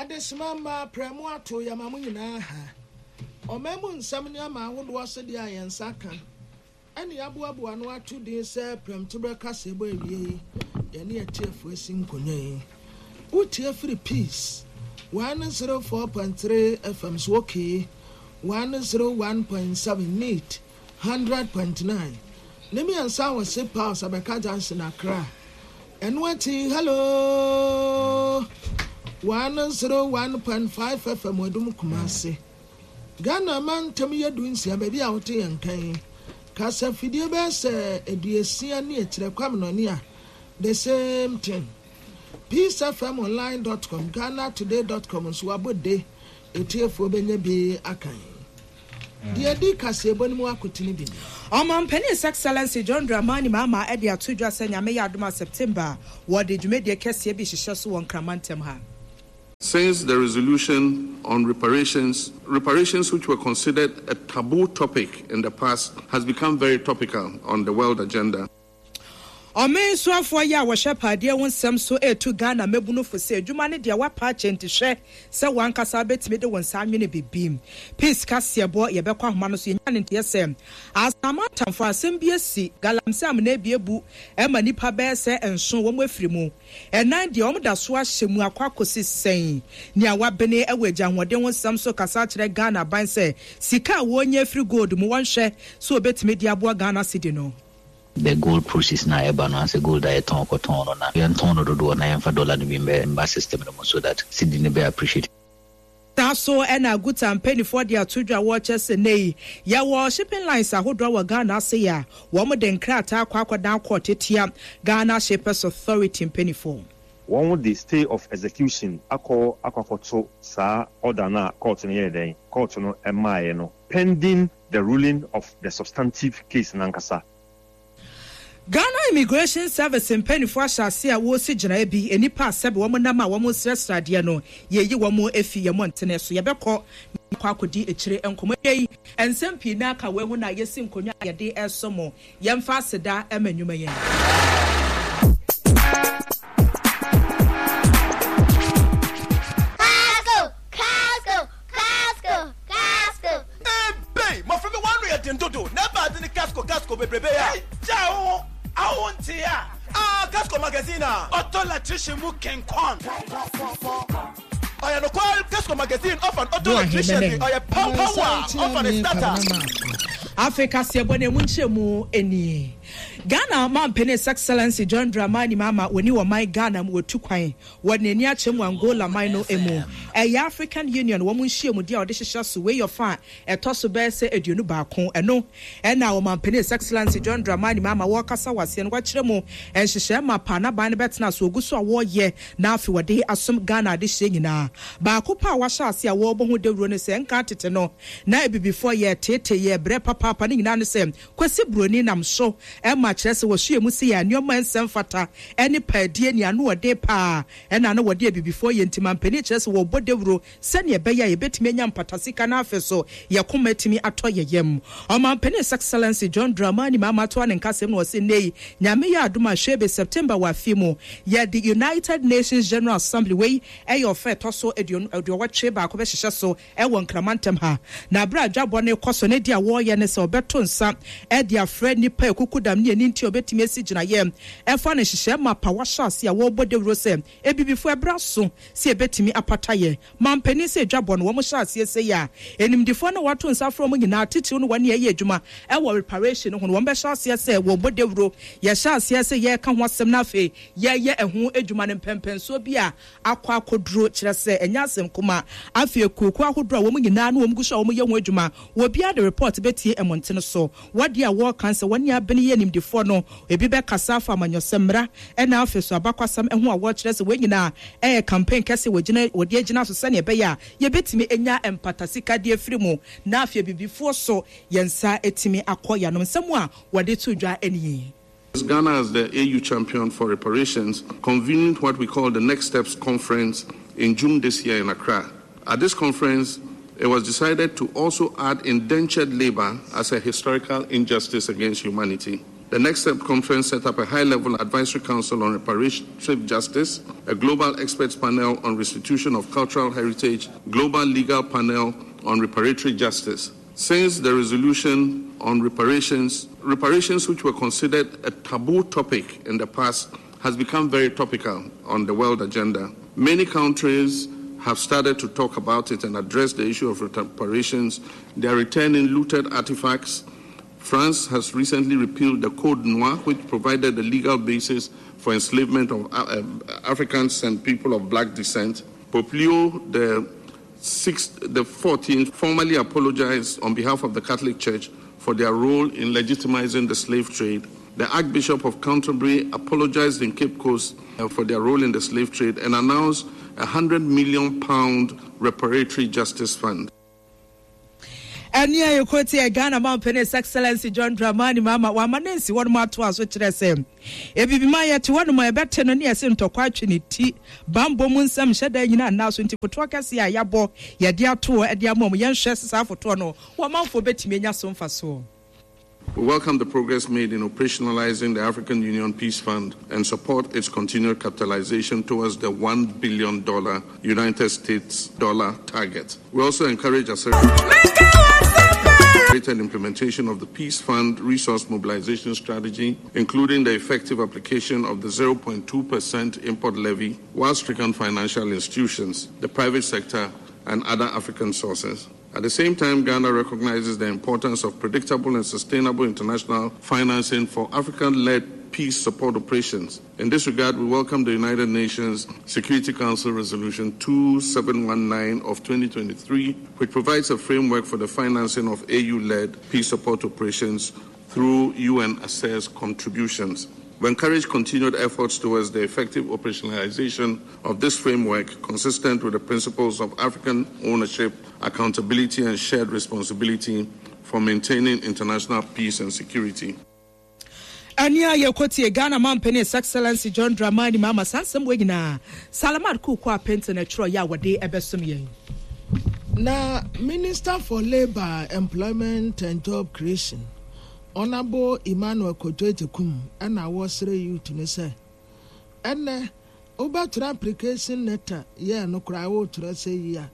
Adesima mma prɛmo ato yɛma mo nyinaa ha. Ɔman mu nsɛm nneɛma ahodoɔ sɛdeɛ a yɛn nsa ka ɛne yɛaboaboa ano ato din sɛ prɛmtoberɛ kaseɛbɔ awiei yɛne atiefoɔ asi nkonnwa yi. Wotie firi Peace 104.3 FM so okay 101.7 Neat 100.9 ne mmiɛnsa wɔ Sip House Abɛka Junction Accra. Ɛno akyi Hello 101.5 FM Adum Kumasi. Ghana mantam yɛ du nsia baabi a wote yɛn nka yi. Kasa fidie bɛyɛ sɛ aduosia ne akyirɛ Kwame Nɔne a the same thing. Peacefmonline.com, GhanaToday.com nso wabɔ de etiefoɔ bɛnya bi akan. Deɛ ɛdi kaseɛbɔ no mu akotene bi ni. Ɔmanpanin His Excellency John Dramani Mahama de ato dwa sɛ Nyame yɛ adom a September wɔde dwumadie kɛseɛ bi hyehyɛ so wɔ Nkraman ntam ha. Since the resolution on reparations, reparations which were considered a taboo topic in the past has become very topical on the world agenda. Ɔman soafoɔ yi a wɔhwɛ paadeɛ ho nsɛm so retu Ghana mmabunu fo sɛ adwuma no deɛ woapa akyɛ nti hwɛ sɛ w'ankasa wobɛtumi de wo nsa anwene biribi. Peace kaseɛbɔ yɛbɛkɔ ahoma no so yɛnya no nteɛ sɛ Asaman atamfo asɛm bi asi galamsey amena bi abu ma nnipa bɛyɛ sɛ nson wɔn afiri mu ɛnan deɛ wɔn da so ahyɛ mu akɔ akɔsi sɛn. Nea wabene wɔ agya ahoɔden ho nsɛm so kasa akyerɛ Ghana aban sɛ sika a wɔnya afiri gold mu wɔnhwɛ sɛ wɔbɛtumi de aboa Ghana cedi no. The gold proceeds no a ɛba no ansɛ gold a yɛtɔn kɔtɔn no na yɛntɔn no dodoɔ na yɛmfa dollar no bi mbɛ mba system no mu so that cedi no bɛ appreciate. Saa so na Aguta mpaninfoɔ de ato dwa wɔkyɛ sɛ nnɛ yi yɛwɔ shipping lines ahodoɔ wɔ Ghana ase yi a wɔn de nkrataa akɔ akɔdan court atia Ghana Shippers Authority mpaninfoɔ. Wɔn de stay of execution akɔ akɔ akɔto saa order no a court no yɛɛ dɛn, court no maaeɛ no pending the ruling of the substantive case no ankasa. Ghana Immigration Service mpaninfoɔ ahyɛ aseɛ a wɔresi gyinaeɛ bi, nnipa a sɛbe wɔn nam a wɔresrɛsrɛ adeɛ no, yɛreyi wɔn afi yɛn mmɔntene so. Yɛbɛkɔ na yɛakɔ akɔdi akyire nkɔmmɔ. Ɛnnɛ yi, nsɛm pii na aka wei ho na yɛsi nkonnwa a yɛde resom mo. Yɛmfa aseda ma nnwuma yi. Casco! Casco! Casco! Casco! Ebei! Mmɔfra bi wɔn ano yɛ den dodo na ɛba ade ne Casco Casco bebrebe a. Gyaa wo ho a wo ntee a. Ah Casco magazine a. Ɔtɔ electrician mu kenkɔn. Ɔyɛ nokwar Casco magazine ɔfa no ɔtɔ electrician bi ɔyɛ pow pow a ɔfa ne starter. Afei kaseɛbɔ no ɛmu nkyerɛmu nie. Ghana Mampanin His Excellency John Dramani Mahama wɔni ɔman Ghana mu wɔtu kwan Wɔde n'ani akyerɛ mu Angola man no mu. Ɛyɛ African Union wɔn nhyiamudi a wɔde hyehyɛ so. Wei yɛ ɔfa a ɛtɔ so bɛyɛ sɛ 21. Ɛno na Ɔmanpanin His Excellency John Dramani Mahama wɔrekasa wɔ aseɛ no wakyerɛ mu nhyehyɛɛ mapa a n'aban no bɛtena so ɔgu so a wɔreyɛ na afei wɔde asom Ghana adehyeɛ nyinaa. Baako pɛ a wahyɛ aseɛ a wɔrebɔ ho dawuro ne sɛ nka tete no na abibifoɔ yɛreteetee yɛn brɛ papaapa ne nyinaa ne sɛ Kwasi Broni nam so ma kyerɛ sɛ wɔso yɛn mu sei a nneɛma a ɛnsɛ mfata ne paadie ne anoɔden paa na na wɔde abibifoɔ yɛ nti mampanin kyerɛ sɛ wɔrebɔ dawuro sɛdeɛ ɛbɛyɛ a yɛbɛtumi anya mpata sika na afei so yɛn koma atumi atɔ yɛn yam. Ɔmanpanin His Excellency John Dramani Mahama toa ne nkasɛm no ɔse nnɛ yi Nyame yɛ adom a hwɛ be September wɔ afe mu yɛde United Nations General Assembly wei ɛyɛ ɔfa ɛtɔ so 81 bɛhyehyɛ so wɔ Nkrama ntam ha. Na bere a dwabɔ no rekɔ so no, de a wɔreyɛ ne sɛ wɔbɛto nsa de afrɛ nnipa a akukudam ne ani nti a wɔbetumi asi gyinaeɛ ɛfa no nhyehyɛe mapa wɔahyɛ ase a wɔrebɔ dawuro sɛ Abibifo ɛberɛ aso sɛ yɛbetumi apata yɛn manpanin sɛ dwabɔ no wɔhyɛ aseɛ sei a animdefoɔ no a wɔato nsa afrɛ wɔn nyinaa titiriw no wɔne ɛyɛ adwuma wɔ reparation ho no wɔbɛhyɛ aseɛ sɛ wɔrebɔ dawuro yɛhyɛ aseɛ sɛ yɛreka ho asɛm na afei yɛreyɛ ɛho adwuma no mpɛnpɛnsoɔ bi a akɔ akɔduro, kyerɛ sɛ ɛnyɛ asɛm kumaa. Afei akuokuo ahodoɔ a wɔn nyinaa ne wɔn gu so a wɔyɛ ho adwuma, obiara de report bɛtie mmɔntene so. Wɔ deɛ a wɔreka nsɛ wɔne abene yɛ animdefoɔ no, ebi bɛkasa afa amanyɔsɛm, mmara ɛna afei so abakwasɛm ho a wɔrekyerɛ sɛ wei nyinaa ɛyɛ campaign kɛseɛ wɔgyina wɔde agyina so sɛdeɛ ɛbɛyɛ a yɛbɛtumi anya mpata sika de afiri mu na afei abibifoɔ so yɛn nsa atumi akɔ yɛn anom. Nsɛm a wɔde too dwa nie. Ghana as the AU champion for reparations convened what we call the Next Steps Conference in June this year in Accra. At this conference, it was decided to also add indentured labor as a historical injustice against humanity. The Next Step Conference set up a high level advisory council on reparative justice, a global experts panel on restitution of cultural heritage, global legal panel on reparatory justice. Since the resolution on reparations, reparations which were considered a taboo topic in the past has become very topical on the world agenda. Many countries have started to talk about it and address the issue of reparations. They are returning looted artifacts. France has recently repealed the Code Noir, which provided the legal basis for enslavement of Africans and people of black descent. Pope Leo the sixth, the 14th formally apologized on behalf of the Catholic Church for their role in legitimizing the slave trade. The Archbishop of Canterbury apologized in Cape Coast for their role in the slave trade and announced a £100 million reparatory justice fund. Ɛne a yɛkɔ tiɛ Ghana mampanin His Excellency John Dramani Mahama wama ne nsi hɔnom atoa so kyerɛ sɛ Ebibima yɛte hɔnom a yɛbɛte no ne yɛse ntɔkwa atwe ne ti bambɔ mu nsɛm nhyɛ da nyina nna so nti fotoɔ kɛseɛ a yɛabɔ yɛde ato hɔ de ama wɔn yɛnhwɛ sɛ saa fotoɔ no wɔn manfoɔ bɛtumi anya so mfasoɔ. We welcome the progress made in operationalizing the African Union Peace Fund and support its continued capitalization towards the $1 billion United States dollar target. We also encourage accelerated implementation of the Peace Fund resource mobilization strategy, including the effective application of the 0.2% import levy while stricken financial institutions, the private sector, and other African sources. At the same time, Ghana recognizes the importance of predictable and sustainable international financing for African led peace support operations. In this regard, we welcome the United Nations Security Council Resolution 2719 of 2023, which provides a framework for the financing of AU led peace support operations through UN assessed contributions. We encourage continued efforts towards the effective operationalization of this framework consistent with the principles of African ownership, accountability, and shared responsibility for maintaining international peace and security. Ɛne a yɛkɔtie Ghana mampanin His Excellency John Dramani Mahama saa nsɛm wei nyinaa Salamat Kuukua Apente na ɛtwerɛ yɛ a wɔde ɛbɛsom yɛn. Na Minister for Labour, Employment and Job Creation, Honourable Emmanuel Kojo Agyekum na wɔresrɛ youth no sɛ ɛnɛ wobɛtwerɛ application letter yɛ no koraa woretwerɛ sɛ yi a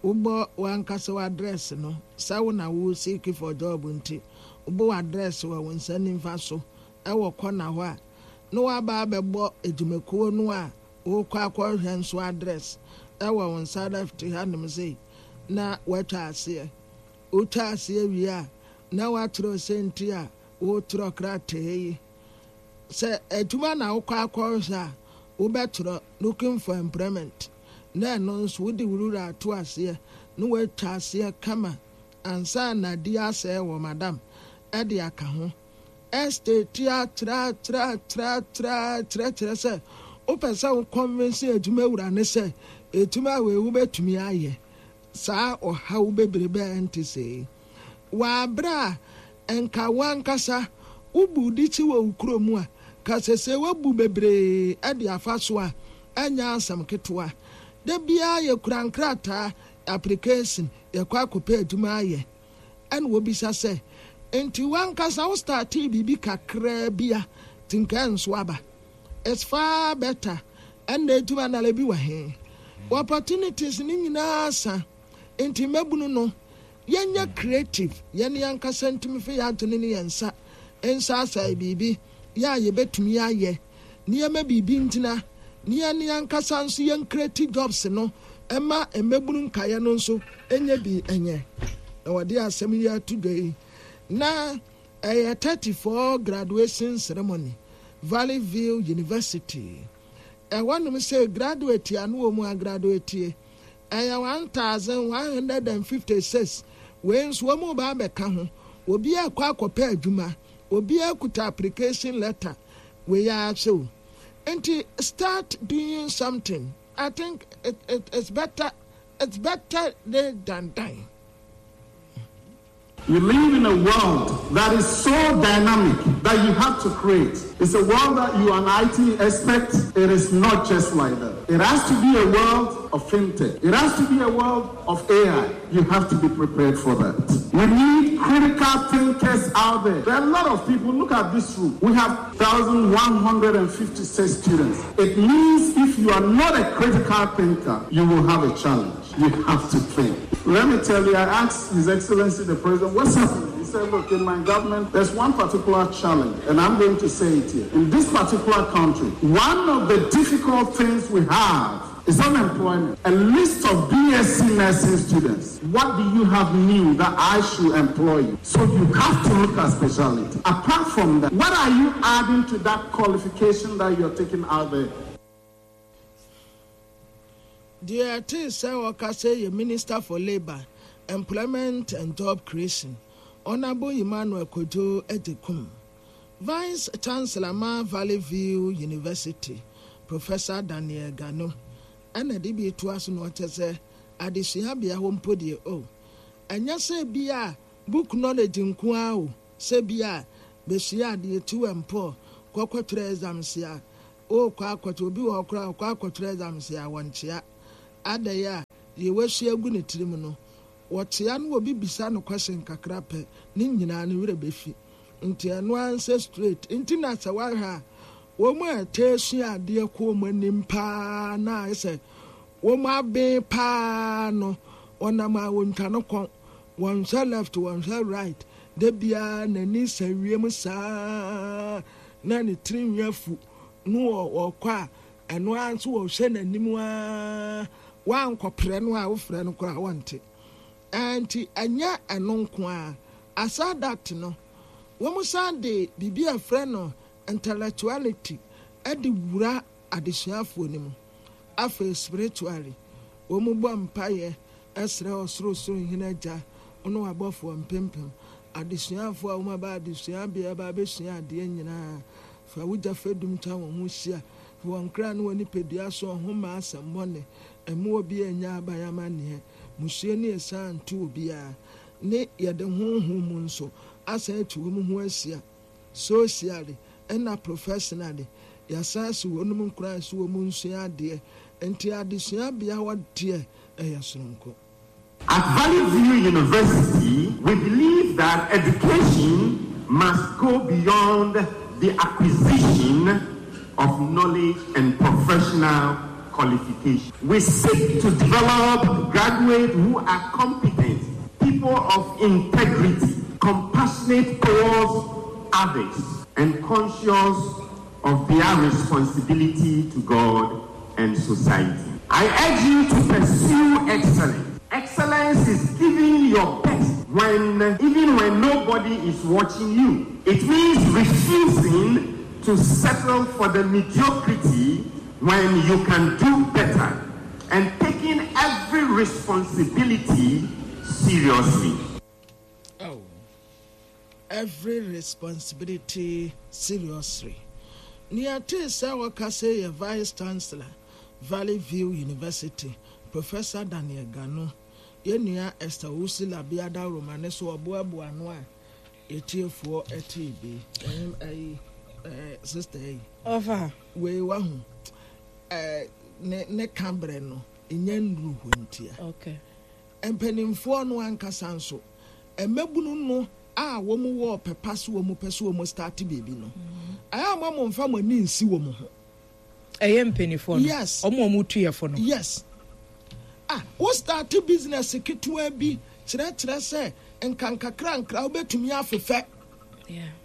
Wobɔ w'ankasa w'address no, sɛ wo na wo seek for job nti, wobɔ w'address wɔ wo nsa nimfa so wɔ corner hɔ a, na w'aba abɛbɔ adwumakuo no a worekɔ akɔhwehwɛ nso address wɔ wo nsa left hanom sei na woatwa aseɛ. Wotwa aseɛ wie a, na woatwerɛ sɛ nti a woretwerɛ krataa yi. Sɛ adwuma na wokɔ akɔhwehwɛ a, wobɛtwerɛ looking for employment. Na ɛno nso wode wo rura ato aseɛ na woatwa aseɛ kama ansa na adi asɛe wɔ madam de aka ho. Estate atra tra tra tra kyerɛkyerɛ sɛ wopɛ sɛ wo convince adwuma wura no sɛ adwuma wei wobɛtumi ayɛ saa ɔhaw bebrebe a ɛnte sei. Wɔ aberɛ a nka wo ankasa wobu dikyi wɔ wo kuro mu a, ka sesei woabu bebree de afa so a ɛnyɛ asɛm ketewa. Da biara yɛkura nkrataa, application, yɛkɔ akɔpɛ adwuma ayɛ. Ɛna wɔbisa sɛ, nti w'ankasa wo startee biribi kakraa bi a, nti nka ɛnso aba? It's far better. Ɛnna adwuma no ara bi wɔ he? Opportunities no nyinaa sa. Nti mmabunu no, yɛnyɛ creative, yɛn ankasa ntumi fa yɛn adwene ne yɛn nsa nsaasae biribi yɛ a yɛbɛtumi ayɛ nneɛma biribi ngyina ne yɛn ankasa nso yɛn create jobs no ɛma mmabunu nkaeɛ no nso nyɛ bi nyɛ. Na wɔde asɛm yi ato dwa yi na ɛyɛ 34 graduation ceremony Valley View University. Ɛhɔnom sɛ graduate a no wɔ mu agraduate Ɛyɛ 1,156. Wei nso wɔn reba abɛka ho. Obiara rekɔ akɔpɛ adwuma. Obiara kuta application letter. Wei ara sɛ o. Nti start doing something. I think it, it, it's better, it's better late than done. We live in a world that is so dynamic that that you have to create. It's a world that you are an IT expert. It is not just like that. It has to be a world of fintech. It has to be a world of AI. You have to be prepared for that. We need critical thinkers out there. There are a lot of people. Look at this room. We have 1,156 students. It means if you are not a critical thinker, you will have a challenge. You have to think. Let me tell you, I asked His Excellency the President, what's happening? He said, look, in my government, there's one particular challenge, and I'm going to say it here. In this particular country, one of the difficult things we have is unemployment. A list of BSc nursing students. What do you have new that I should employ you? So you have to look at specialty. Apart from that, what are you adding to that qualification that you're taking out there? Deɛ ɛtee sɛ ɔkasa yi yɛ Minister for Labour, Employment and Job Creation, Honourable Emmanuel Kojo Agyekum. Vice Chancellor ma Valley View University, Professor Daniel Gano, ɛna ɛde bi retoa so na ɔkyɛ sɛ adesuabea hɔ mpo deɛ oh, ɛnyɛ sɛ bi a book knowledge nko ara o, sɛ bi a bɛsua adeɛ tu mpɔ kɔ kɔtwerɛ exams a, worekɔ akɔtwerɛ, obi wɔ hɔ koraa a ɔkɔ akɔtwerɛ exams a wɔnkyea. Adɛn a, deɛ wasua agu ne tirim no, Wɔkyea no obi bisa no question kakra pɛ ne nyinaa ne werɛ bɛfi nti ɛno ara nsɛ straight nti na sɛ woahwɛ a wɔn a ɛtaa sua adeɛ kɔ wɔn anim paa na ayɛ sɛ wɔn aben paa no wɔnam a wɔntwa no kɔn wɔnhwɛ left wɔnhwɛ right da biara n'ani sɛ wiem saa na ne tiri nwi afu no wɔkɔ a ɛno ara nso wɔhwɛ n'anim ara Woankɔprɛ no a wofrɛ no koraa wɔnte. Ɛnti ɛnyɛ ɛno nko ara, aside that no, wɔsan de biribi a yɛfrɛ no intellectuality de wura adesuafoɔ no mu. Afei spiritually, wɔbɔ mpaeɛ srɛ Ɔsorosoro Hene Agya ne w'abɔfoɔ mpempem, adesuafoɔ a wɔaba adesuabea ba abɛsua adeɛ nyinaa, fa wo gya fadum twa wɔn ho hyia, Fi wɔn kra ne wɔn nipadua so ɔho mma asɛmmɔne, mma obiara nnya aban amanneɛ, mmusua ne asiane nto obiara, ne yɛde honhom mu nso asan atu wɔn ho ahyia, socially ɛna professionally, yɛasan asi wɔnom nkuran sɛ wɔn nsua adeɛ, nti adesuabea hɔ deɛ ɛyɛ soronko. At Valley View University, we believe that education must go beyond the acquisition of knowledge and professional qualification. We seek to develop graduates who are competent, people of integrity, compassionate towards others, and conscious of their responsibility to God and society. I urge you to pursue excellence. Excellence is giving your best when even when nobody is watching you. It means refusing to settle for the mediocrity when you can do better and taking every responsibility seriously. Oh, every responsibility seriously. Nea ɛtee sɛ wɔka sei yɛ Vice Chancellor, Valley View University, Professor Daniel Gano. Yɛn nua Esther Owusu Labi Adaworoma ne so ɔboaboa ano a yɛtiefoɔ tee bi. Ɛhem ayi, eh, sister yi. Ɔfa. Wei wahu, eh, ne, ne ka berɛ no, nya nnuru hɔ ntia. Okay. Mpanimfoɔ no ankasa nso, mmabunu no a wɔn wɔ ɔpɛ pa so wɔn pɛ so wɔn start biribi no, ɛyɛ a mo mo nfa mo ani nsi wɔn ho. Ɛyɛ mpanimfoɔ no. Yes. Wɔn a wɔn tu yɛ fo no. Yes. Ah, wo start business ketewa bi kyerɛkyerɛ sɛ nkankakra nkra wobɛtumi afefɛ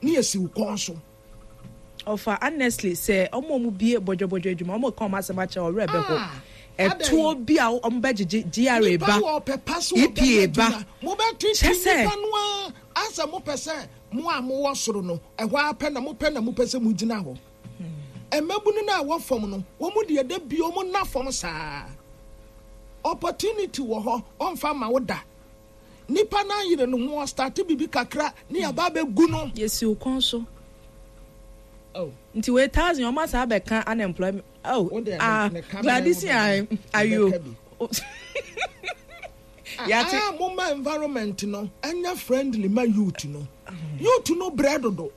ne esi wo kɔn so. Ɔfa honestly sɛ ɔmo a ɔmo bie bɔdwɔbɔdwɔ adwuma ɔmo ka ɔmo asɛm akyerɛ ɔwerɛ bɛ ho ɛtoɔ bi a ɔmo bɛ gyegye GRA ba EPA ba kyɛ sɛ. Nipa no ara asɛ mo pɛ sɛ mo a mo wɔ soro no ɛhɔ ara pɛ na mo pɛ na mo pɛ sɛ mo gyina hɔ mmabunu no a ɛwɔ fam no wɔn deɛ da bi wɔn na fam saa opportunity wɔ hɔ ɔnfa ma wo da. Nipa no ayere ne ho ɔstarte biribi kakra ne yɛaba abɛgu no. Yɛsi wo kɔn so. Oh. Nti wei thousand ɔmo asa abɛka unemployment. Oh, Wo deɛ ah, ne ka Gladys bɛn ayo. ayo. Mɛka bi. Yate. Ah, mo ma environment no ɛnyɛ friendly ma youth no. Youth no brɛ dodo.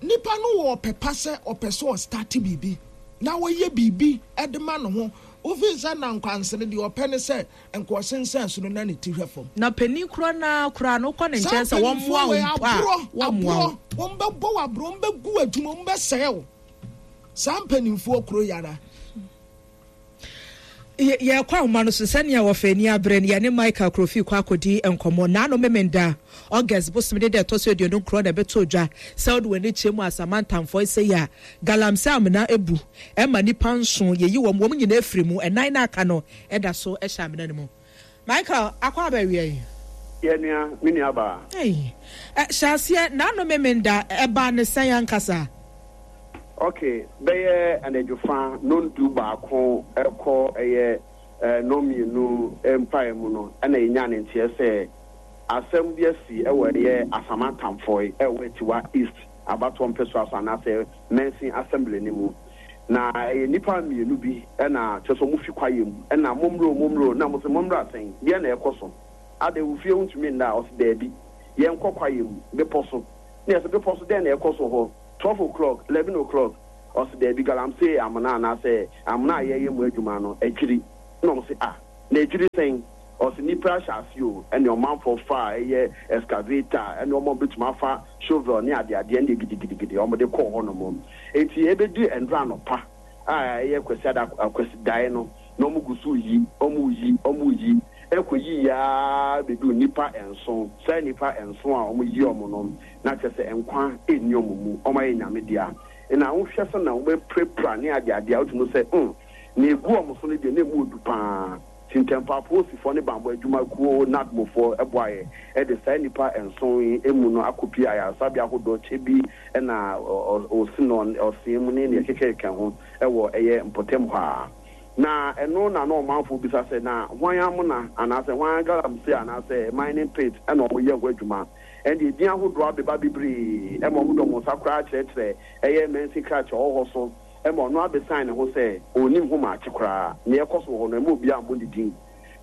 Nipa no wɔ ɔpɛ pa sɛ ɔpɛ sɛ ɔstarte biribi na ɔyɛ biribi de ma ne ho. Wofii sɛ na nkwansere deɛ ɔpɛ ne sɛ nka ɔsensɛn soro na ne ti hwɛ fam. Na panin korɔ no ara koraa no wokɔ ne Saa nkyɛn sɛ mpanimfoɔ wɔmmoa wo wei mpo a, aborɔ, wɔmmoa wo. aborɔ, wɔbɛbɔ wo aborɔ, wɔbɛgu w'adwuma, wɔbɛsɛe wo. Saa mpanimfoɔ kuro yi ara. Yɛrekɔ ahoma no so sɛnea wɔfa ani abere no, yɛne Michael Krofi kɔ akɔdi nkɔmmɔ. Naano Memenda, August bosome ne da ɛtɔ so 29 na ɛbɛtɔ dwa sɛ wode w'ani kyerɛ mu a Samantha Mfoe sɛ yi a galamsey amena abu ma nnipa nson, yɛyi wɔn, wɔn nyinaa firi mu, ɛnan no a aka no da so hyɛ amena no mu. Michael, akɔ aba awia yi. Yɛ nua, me nua baa. Ei, hyɛ aseɛ, Naano Memenda, ɛbaa ne sɛn ankasa? Ok, bɛyɛ anadwo fa nondu baako rekɔ ɛyɛ nɔnmienu mpae mu no ɛna yɛnyaa ne nteɛ sɛ asɛm bi asi ɛwɔ ɛyɛ Asama Tamfoe ɛwɔ Atiwa East abatoɔ mpɛsoa so anaasɛ Mansin Assembly no mu. Na ɛyɛ nnipa mmienu bi ɛna kyerɛ sɛ wɔn fi kwaeɛ mu ɛna mommrɛ o mommrɛ o na wɔn se mommra sɛn deɛn na ɛrekɔ so adɛn wo fie wontumi nna a ɔse daabi yɛnkɔ kwaeɛ mu bepɔ so na yɛse bepɔ so dɛn na ɛrekɔ so hɔ 12 o'clock, 11 o'clock, ɔse daabi galamsey amena anaasɛ amena a yɛyɛ mu adwuma no adwiri, ɛna ɔmo se ah na adwiri sɛn? Ɔse nnipa ahyɛ aseɛ o, ɛne ɔmanfoɔ faa ɛyɛ excavator ɛne ɔmo a ɔmo bɛtumi afa shovel ne adeadeɛ ɛne gidigidigidi ɔmo de kɔɔ hɔ nom. Enti ɛbɛdu ɛndora anɔpa a ɛyɛ Kwasiada Kwasidaeɛ no na ɔmo gu so reyi, ɔmo reyi, ɔmo reyi, ɛkɔ yiiɛ ara bɛduu nnipa nson, saa nnipa nson a ɔmo yi ɔmo no na kyerɛ sɛ nkwa nni wɔn mu, wɔayɛ Nyame dea. Na wohwɛ sɛnea wɔapirapira ne adeade a, wotumi hu sɛ, hmm, nea egu wɔn so no deɛ, na emu odu paa. Nti ntɛmpa apolisifoɔ ne bammɔ adwuma kuo NADMOfoɔ boaeɛ de saa nnipa nson yi mu no akɔpie ayaresabea ahodoɔ kyɛ bi na ɔsinɔ, ɔsee mu ne nea ɛkekakeka ho wɔ ɛyɛ mpɔtam hɔ ara. Na ɛno na na ɔmanfoɔ bisa sɛ, na hwan amona anaasɛ hwan galamsey anaasɛ mining pit na wɔyɛ ho adwuma? Ɛnde edin ahodoɔ abeba bebree ma wɔde wɔn nsa koraa kyerɛkyerɛ ɛyɛ mansin krakyɛ ɔwɔ hɔ so ma ɔno abesan ne ho sɛ ɔnnim ho maakye koraa. Nea ɛkɔ so wɔ hɔ no, ɛmma obiara mmɔ ne din.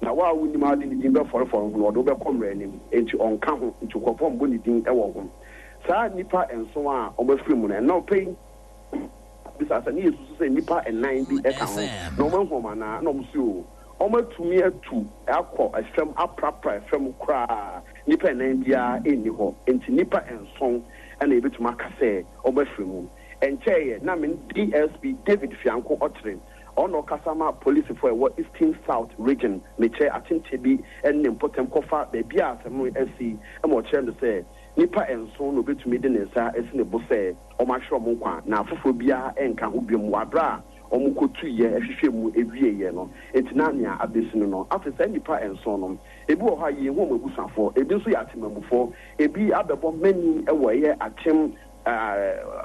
Na wo a wonnim a wode ne din bɛfɔrefɔre ho no, ɔde wo bɛkɔ mmara anim. Enti ɔnka ho, nti nkurɔfoɔ mmɔ ne din wɔ ho. Saa nnipa nson a wɔafiri mu no, nnɔpɛ yi, Bisa sɛ, Ne yɛsusu sɛ nnipa nnan bi ka ho na wɔahu wɔn anaa? Ɛna wɔse, Oo, wɔatumi atu akɔ fam aprapra fam koraa, nnipa nnan biara nni hɔ. Enti nnipa nson na yɛbɛtumi aka sɛ wɔafiri mu. Ɛnkyɛeɛ na me ne DSP David Fianko Ɔkyere, ɔno na ɔkasa ma polisifo a ɛwɔ Eastern South Region, mekyerɛ akyemkyɛ bi ne ne mpɔtam kɔfa baabi a asɛm no asi ma ɔkyerɛɛ me sɛ nnipa nson na obetumi de ne nsa asi ne bo sɛ wɔahwere wɔn nkwa na afoforɔ biara nka ho biom wɔ aberɛ a wɔkɔtuiɛ hwehwɛɛ mu wieeɛ no. Enti na nea abɛsi no no, afei saa nnipa nson no, ebi wɔ hɔ a yɛnhu wɔn abusuafoɔ, ebi nso yɛ atemammufoɔ, ebi abɛbɔ mani wɔ ɛyɛ akyem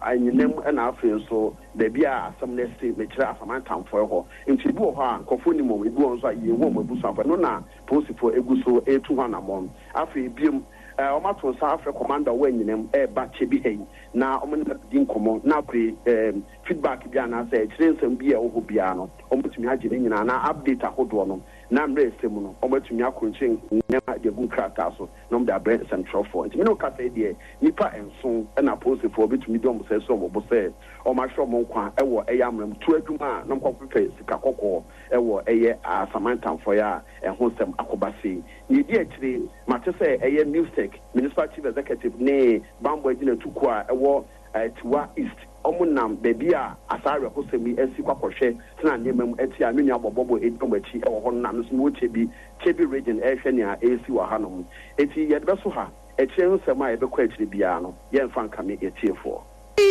anyinam na afei nso baabi a asɛm no asi, mekyerɛ Asamantamfoɔ hɔ. Nti ebi wɔ hɔ a nkurɔfoɔ nnim wɔn, ebi wɔ hɔ nso a yɛnhu wɔn abusuafoɔ. Ɛno na polisifoɔ gu so retu ho anammɔn. Afei biom, Wɔato nsa afrɛ commander a ɔwɔ anyinam reba Kyebi ha yi na wɔne no abɛdi nkɔmmɔ na afei feedback bi anaasɛ akyire nsɛm bi a ɛwɔ hɔ biara no wɔatumi agye ne nyinaa anaa update ahodoɔ no na mmerɛ ɛsɛ mu no wɔatumi akronkye nneɛma de agu nkrataa so na wɔde abrɛ nsɛmtwerɛfoɔ. Nti me ne wo kasa yi deɛ nnipa nson na apolisifoɔ bɛtumi de wɔn nsa asi wɔn bo sɛ wɔahwere wɔn nkwa wɔ ɛyɛ amena mu tuo adwuma a na wɔkɔpepɛ sika kɔkɔɔ wɔ ɛyɛ Asaman Tamfoe a ɛho nsɛm akɔba sei. Nea edi akyire, mate sɛ ɛyɛ MUSEC, Municipal Chief Executive, ne Bammɔ Agyinatukuo a ɛwɔ Atiwa East, wɔnam baabi a saa awerɛhosɛm yi asi kɔ akɔhwɛ sɛnea nneɛma mu te a me nua Bɔbɔbɔ di wɔn akyi wɔ hɔ no na me nso mewɔ Kyebi, Kyebi Region rehwɛ nea ɛresi wɔ hanom. Enti yɛde bɛso ha. Akyire nsɛm a yɛbɛkɔ akyire biara no, yɛremfa nkame yɛn atiefoɔ.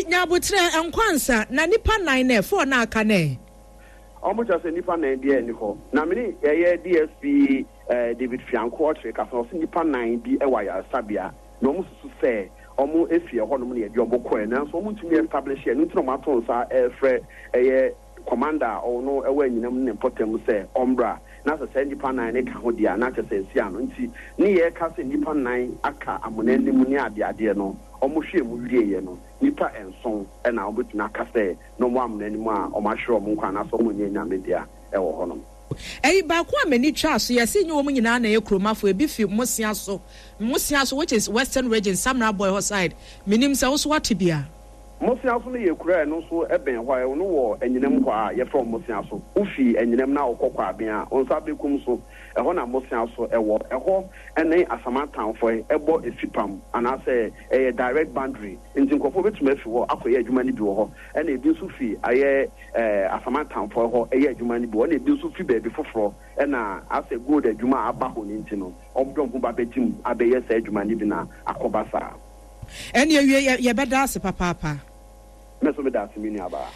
Nya aboterɛ, nkɔ ansa, na nnipa nnan no ɛ, four no a aka no ɛ? Ɔmo kyerɛ sɛ nnipa nan biara nni hɔ. Na me ne ɛyɛ DSP David Fianko ɔkyere kasa no, ɔse nnipa nan bi wɔ ayaresabea na ɔmo susu sɛ ɔmo fi ɛhɔ nom na yɛde ɔmo kɔɛ nanso ɔmo ntumi establish ɛno nti na ɔmo ato nsa ɛrefrɛ ɛyɛ commander a ɔno ɛwɔ anyinam ne ne mpɔtam sɛ ɔmbra na sɛ saa nnipa nan no ka ho deɛ a na kyerɛ sɛ ɛsi ano nti ne yɛreka sɛ nnipa nan aka amona no mu ne adeadeɛ no ɔmo hwɛɛ mu wieɛ no nnipa nson na ɔmo bɛtumi aka sɛ na wɔn amena no mu a wɔahwere wɔn nkwa anaasɛ wɔnyɛ anyame dea wɔ hɔnom. Ɛyi baako a m'ani twaa so, yɛse nyɛ wɔn nyinaa na ɛyɛ kuromafo, ebi fi Mmosea so, Mmosea so which is Western region, Samra Boy hɔ side, menim sɛ wo nso woate bi a. Moseaso no yɛ kuro a ɛno nso bɛn hɔ a ɛno wɔ Anyinam hɔ a yɛfrɛ hɔ Moseaso. Wofi Anyinam na wokɔ Kwaben a, wo nsa benkum so, ɛhɔ na Moseaso wɔ. Ɛhɔ ne Asamantanfoɔ bɔ fipam anaasɛ ɛyɛ direct boundary nti nkurɔfoɔ bɛtumi afi hɔ akɔyɛ adwuma no bi wɔ hɔ. Ɛna ebi nso fi ayɛ Asamantanfoɔ hɔ yɛ adwuma no bi wɔ hɔ. Ɛna ebi nso fi baabi foforɔ ɛna asɛ gold adwuma a aba hɔ no nti no, wɔde wɔn ho ba bɛgye mu abɛyɛ saa adwuma no bi na akɔba saa. Ɛne awie yɛ yɛbɛda ase papaapa. Me nso meda ase me nuabaa.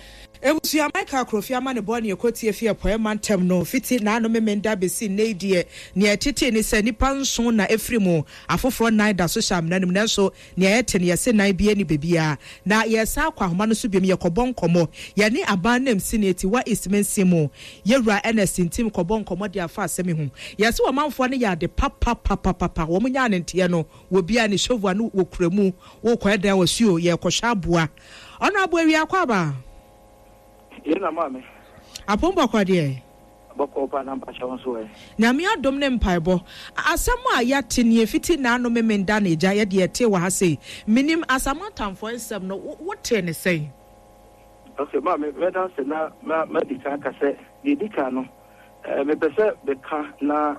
Abusua Michael Akrofi amanebɔ ne ɛkɔtie fi Apueɛ Mantam no fiti naano Memenda bɛsi nnɛ yi deɛ, nea ɛtetee ne sɛ nnipa nson na ɛfiri mu, afoforɔ nnan da so hyɛ amena no mu nanso nea ɛte no yɛse nan biara nni baabiara. Na yɛresan akɔ ahoma no so biom yɛkɔbɔ nkɔmmɔ. Yɛne Aban Namsini Atiwa East Mansin mu Yɛwura Ernest Ntim kɔbɔ nkɔmmɔ de afa asɛm yi ho. Yɛse ɔmanfoɔ no yɛ ade papapapapa, wɔn nyaa ne nteɛ no Wɔ bia ne shovel no wɔ kura mu wo kɔ ɛdan wɔ suo yɛ kɔ hwɛ aboa ɔno aboa wia akɔ aba. Yɛ na maame. Apom bɔkɔ deɛ. Bɔkɔ paa na mpakyɛ wo nso ɛ. Nyame adom ne mpaebɔ. Asɛm a yɛate nie fiti naano memenda na agya yɛdeɛ yɛtee wɔ ha sei. Menim Asamoah nsɛm no wo tee ne sɛn? Ok maame mɛda ase na madi kan aka sɛ deɛ ɛdi kan no mepɛ sɛ meka na.